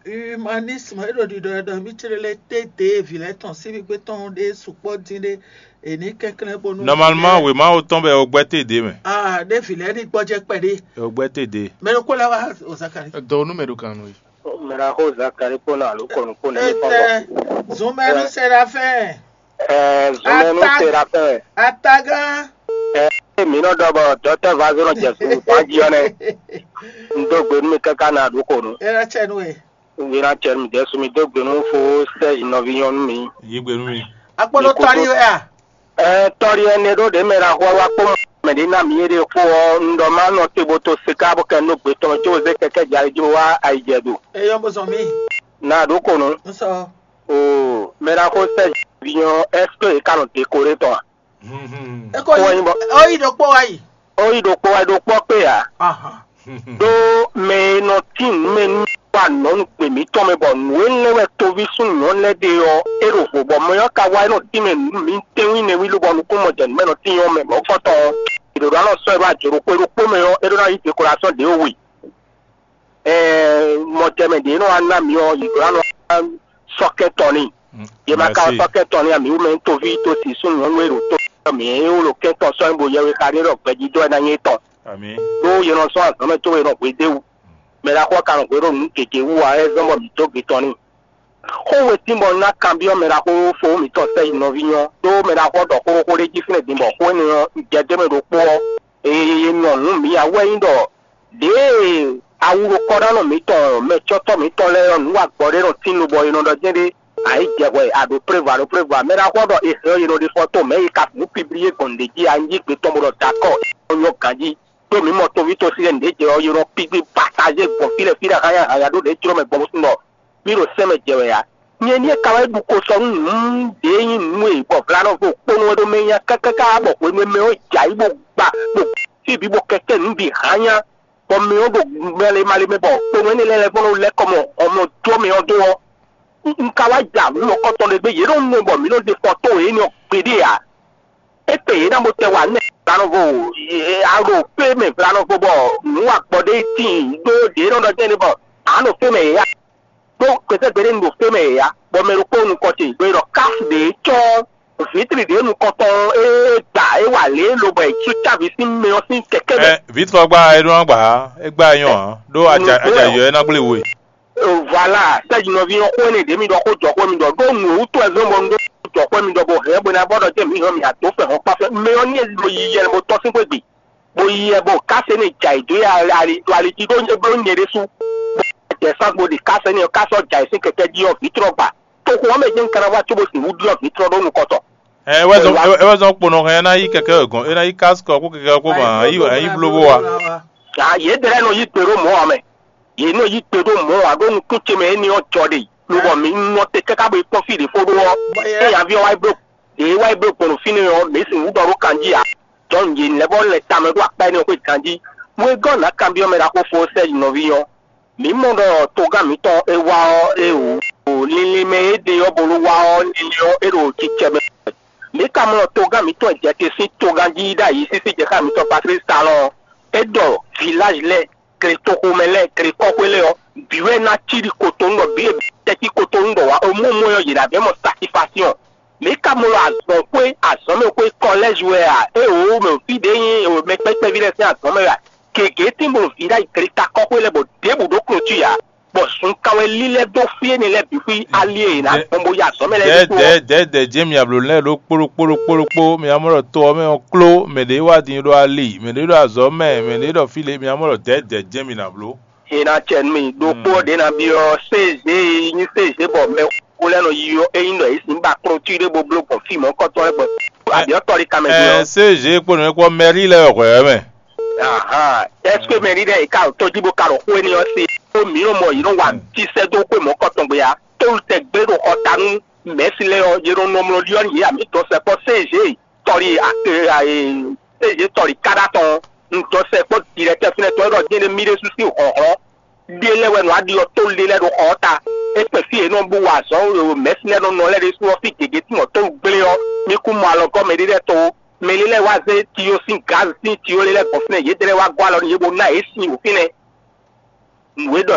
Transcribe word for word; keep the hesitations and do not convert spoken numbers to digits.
Humanisme é ɖo ɖiɖɔ ɖɔ mí clé lɛ́ té dě vǐ lɛ́ɛ tɔn sín xwé tɔn ɖé sukpɔ́ dín ɖé, è ní kɛnklɛ́n bónú Normalement, wěma atɔn bɛ o gbɛ́ té ɖě mɛ. Ah, ɖé vǐ lɛ́ɛ ní gbɔjɛ kpɛɖé. O gbɛ́ té ɖě. Mɛ ɖokpó lɛ́ wá o Zakari. Dɔwɔnu mɛ ɖo kan nɔ yi. Mɛ ɖaxó Zakari kpó nɔ alo kɔnu kpó nɔ Etɛ zunmɛnu Serafin. Ɛɛ zunmɛnu Ata- Serafin. Atagán. Ɛɛ mi nɔ ɖɔ bɔ dɔtɛ vazo nɔ jɛ sunu tɔn jí ɔnɛ. Un dó gbe nú mi káká na ɖu xo nu. Era tsɛ nú ɛ. Wira cɛ mi dɛsu mi dó gbe nú fo Serge nɔví nyɔnu mi. Yí gbe nú mi. Akpɔnɔ tɔli wɛ a? Ɛ tɔli ɛnɛ ɖó ɖe mɛ la xɔ wa kpó mɛ ɖé ná mi yé ɖe kpó ɔ un ɖɔ má nɔ te bo to sika bó kɛ nú gbe tɔn có zé kɛkɛ jalɛ jí bó wá ayijɛ do. Eyɔ bó zɔn mí. Na ɖó ko nu. N sɔ. O mɛ la xó Serge nɔví nyɔn ɛsike e ka nɔ dékoré tɔn a? Eko Kó wá nyí bɔ- ó yí ɖokpó wá yi. Ó yí ɖokpó wá ɖokpó kpé ǎ. Ahan. Ɖó mɛ e nɔ tín nǔ mɛ nú wa nɔ́ nú gbe mǐtɔn mɛ bɔ nǔ e lɛ́ wɛ toví súnnu nyɔ̌nu lɛ́ɛ ɖe ɔ́, é ɖo vo bɔ mɛ ɔ́ ka wá é nɔ tín mɛ nǔ mǐtɛ́nwí nɛwí lobɔ nukúnmɔjɛnǔmɛ nɔ tín ɔ́ mɛ mɔ̌kɔtɔn ɔ́, è ɖǒ ná nɔ sɔ́ ɛ ɖó ajǒ ɖokpó é ɖokpó mɛ ɔ́, é ɖó ná yí dekolasɔ́n ɖě we. Ɛɛ mɔjɛmɛ ɖě nɔ wá ná mǐ ɔ́, yě ɖó ná nɔ wá sɔ́ kɛ́n tɔn n'i. Yě ma ka wá sɔ́ kɛ́n tɔn n'i ǎ, mǐ wú mɛ toví tó si súnnu nyɔ̌nu e ɖo tó mǐ é wú ɖo kɛ́n tɔn sɔ́ nyí bo yɛwe xa ɖé ɖɔ gbɛjidó wɛ ná nyí étɔn. Ɖó yě nɔ sɔ́ azɔ̌ mɛ có yě nɔ hwedéwu. Mɛ ɖaxó ɔ́ ka nɔ hwě ɖo nǔ gěgé wú ǎ, é zɔ́n bɔ mǐ dó gbe tɔn n'i. Xó we tín bɔ un ná kanbyɔ́ mɛ ɖaxó fowú mǐtɔn Sɛ́yi nɔví nyɔ́, ɖó mɛ ɖaxó ɔ́ ɖɔ xóɖóxó ɖé jí fínɛ́ din bɔ xó énɛ́ ɔ́, un jɛ dó mɛ ɖokpó ɔ́, è nɔ nǔ mǐ ǎ wú wɛ nyí ɖɔ ɖěe awu ɖo kɔ́ɖánɔ mǐtɔn mɛcɔ́tɔ́ mǐtɔn lɛ́ɛ ɔ́, nǔ wa gbɔ ɖé nɔ tín lobɔ è nɔ ɖɔ jɛ́n ɖé, a yǐ jɛ hwɛ, a ɖǒ prévu, a ɖǒ prévu ǎ. Mɛ ɖaxó ɔ́ ɖɔ è hɛn ɔ́, è nɔ ɖe fɔ tó mɛ̌ yi ka nǔ pibliyé gbɔn nǔɖé jí, a nyí gbe tɔn bó ɖɔ dakɔ, é nɔ nyɔ́ ganjí. Ɖó mǐ mɔ toví tosí lɛ́ɛ nǔɖé jɛ ɔ́, è nɔ kpígbí patajé gbɔn fí lɛ́ɛ fí lɛ́ɛ hányá hányá ɖó ɖě jló mɛ gbɔn bó sun ɖɔ mí ɖo sɛ́n mɛ jɛ wɛ ǎ. Nyɛ ní e ka wá yi ɖu ko sɔ nú nǔ ɖě nyí nǔ e bɔ vlanɔ́vo kpónú wɛ ɖó mɛ nya kákáká bɔ hwenu e mɛ ɔ́ jɛ ayǐ bó gba bó fí bǐ bó kɛkɛ́ nǔ bǐ hányá, bɔ mɛ ɔ́ ɖo mɛle male mɛ bɔ kpónú énɛ́ lɛ́ɛ lɛ́ vɔ́ nɔ lɛ́ kɔ mɔ hɔnmɔ jó mɛ ɔ́ dó ɔ́, un ka wá ja nǔ nɔkɔtɔn ɖé gbé, yě ɖo nu bɔ mǐ nɔ ɖe kɔ tó yě nɔ gbeɖé ǎ. É kpe yě ná bó tɛ wa nú vlanɔvo a ɖo fé mɛ vlanɔvo bɔ nǔ wa gbɔ ɖé tíin ɖó ɖě nɔ ɖɔ jɛ́n bɔ a nɔ fé mɛ yě ya. Ɖó kpɛtɛ́ gbeɖé un ɖo fé mɛ yě ya, bɔ mɛ ɖokpó nukɔn ce ɖo e ɖɔ káfu ɖě cɔ́ vǐtri ɖě nukɔntɔn e gba é wa lě lobɔ è sú cávi sín mɛ ɔ́ sín kɛkɛ́ mɛ. Ɛ vǐtrɔ gba é ɖó ná gba é gba é nyɔ́ ǎ, ɖó aja aja yɔ é ná gblé we. Voilà, sɛ́jinɔví ɔ́ xó énɛ́ ɖě mi ɖɔ xó jɔ xó mi ɖɔ ɖó nǔ e wútu wɛ zɔ́n bɔ un ɖó jɔ xó mi ɖɔ bɔ hɛ̌n bó ná bɔ ɖɔ jẹ́ mǐ hɛn mǐ adó fɛ hɔn kpáfɛ mɛ ɔ́ ní e ɖo yiyi ɛnɛ bó tɔ́ sín xwé gbe, bó yi ɛ bó kásé ní jɛ ayǐ dó ali dó ali jí ɖó é bló nyɛ ɖésú. Bó jɛ sán bó ɖi kásé ní ɔ́ ká sɔ́ jɛ ayǐ sín kɛkɛ́ jí ɔ́ vǐtrɔ gba. Toxo ɔ́ mɛ jɛ́n un ka ná wá cóbó sixú ɖyɔ́ vǐtrɔ ɖó nukɔn tɔn. Ɛ wɛ zɔn é wɛ zɔn kponɔ hɛn ná yí kɛkɛ gɔn é ná yí kásikɔ kó kɛkɛ kó ma ayi ayi blo bó wa. Yě dɛ́ lɛ́ɛ nɔ yí gbe ɖó mɔ̌ ǎ mɛ. Yě nɔ yí gbe ɖó mɔ̌ ǎ ɖó nukún ce mɛ énɛ́ ɔ́ jɔ ɖe, lobɔ mǐ nɔ te káká bo yi kpɔ́n fí ɖě fó ɖó ɔ́, éyǎví ɔ́ wá yi bló ɖě wá yi bló gbɔn ɖo fínɛ́ ɔ́, mǐ sixú ɖɔ ɖó kanjí ǎ. Jɔ̌n yě lɛ́ bɔ lɛ tamɛ ɖó akpá énɛ́ ɔ́ xwé ganjí. Wegɔ́ nǎ kanbyɔ́ mɛ ɖaxó fó Sɛ́ji nɔví ɔ́, mǐ mɔ ɖɔ togán mǐtɔn e wá ɔ́, é wǔ linlin mɛ e ɖe ɔ́ bo nɔ wá ɔ́, linlin ɔ́, é ɖo cicɛ mɛ. Mǐ ka mɔ ɖɔ togán mǐtɔn e jɛ te sín togán jí ɖ'ayǐ sísí jɛ xá mǐtɔn Patlísi talɔn ɔ́, é ɖɔ vilázi lɛ́ɛ, gletoxomɛ lɛ́ɛ, glekɔ́xwé lɛ́ɛ ɔ́, bǐ wɛ ná cí ɖi kotonu ɖɔ bǐ e tɛ́cí kotonu ɖɔ wǎ omúmú ɔ́ yě ná bɛ́ mɔ satifasiɔn. Mǐ ka mɔ ɖɔ azɔ̌xwé azɔ̌mɛxwé kɔlɛ́zi wɛ a? Éeǒ, mɛ fí ɖě nyí mɛ kpɛ́kpɛ́ví lɛ́ɛ sín azɔ̌ mɛ wɛ a? Gěgé tín bɔ vǐ ɖ'ayǐ gleta kɔ́xwé lɛ́ɛ bɔ ɖěbǔ ɖó klotwí ǎ, bɔ sun kan wɛ lílɛ́ dó fí énɛ́ lɛ́ɛ bǐ xwí ali e è nǎ gbɔn bó yi azɔ̌ mɛ lɛ́ɛ ɖésú ɔ́. Dɛ̌dɛ̌ jɛ́n mǐ ablǒ lɛ́ɛ ɖó kpóɖó kpóɖó kpóɖó kpó, mǐ ná mɔ ɖɔ to ɔ́ mɛ ɔ́ kló, mɛ ɖě wá din ɖo ali, mɛ ɖě ɖo azɔ̌ mɛ, mɛ ɖě ɖɔ fí lě, mǐ ná mɔ ɖɔ dɛ̌dɛ̌ jɛ́n mǐ ná bló. È nǎ cɛ nú mì ɖokpó ɔ́ ɖě ná byɔ́ sézé e nyí sézé bɔ mɛxó lɛ́ɛ nɔ yi ɔ́, é nyí ɖɔ yě sixú ba klotwí ɖé bó bló gbɔn fí mɔ̌hunkɔtɔn lɛ́ɛ gbɔn abyɔ̌tɔ́ ɖé kanmɛ din ɔ́. Sézé kpó nǔ e kpó mɛrí lɛ́ɛ wɛ hwɛ̌ mɛ. Ahan, ɛsike mɛrí lɛ́ɛ yě ka ɖo tó jí bó ka ɖo xó énɛ́ ɔ́ se? Ó mǐ nɔ mɔ yě nɔ wa tísɛ́ dó xwé mɔ̌hunkɔtɔn gbe ǎ. Tólu tɛgbɛ ɖo xɔ ta nú mɛ̌si lɛ́ɛ ɔ́, yě nɔ nɔ mlɔ ɖyɔ́ nú yě ǎ, mǐ dɔn sɛkpɔ́ sézé tɔli sézé tɔli káɖá tɔn. Un dɔn sɛkpɔ́ dirɛtɛ́ fínɛ́ tɔn é ɖɔ jɛ́n ɖé mì ɖésú sín hlɔ̌nhlɔ́n ɖé lɛ́ɛ wɛ nɔ wá ɖiɔ tólu ɖé lɛ́ɛ ɖo xɔ ɔ́ ta. É kpɛn fí e nɔ bú wa azɔ̌ mɛ̌si lɛ́ɛ nɔ nɔ lɛ́ɛ ɖésú ɔ́, fí gěgé tín ɔ́ tólu gblé ɔ́, mì kún mɔ alɔgɔ́ mɛ ɖé lɛ́ɛ to ó. Mɛ ɖé lɛ́ɛ wá zé tiyo sín gǎz sín tiyo lé lɛ́ɛ gbɔn fínɛ́, yědɛ́ lɛ́ɛ wá gɔ́ alɔ nú yě bó ná yě sin wǒ fínɛ́. Nǔ e ɖɔ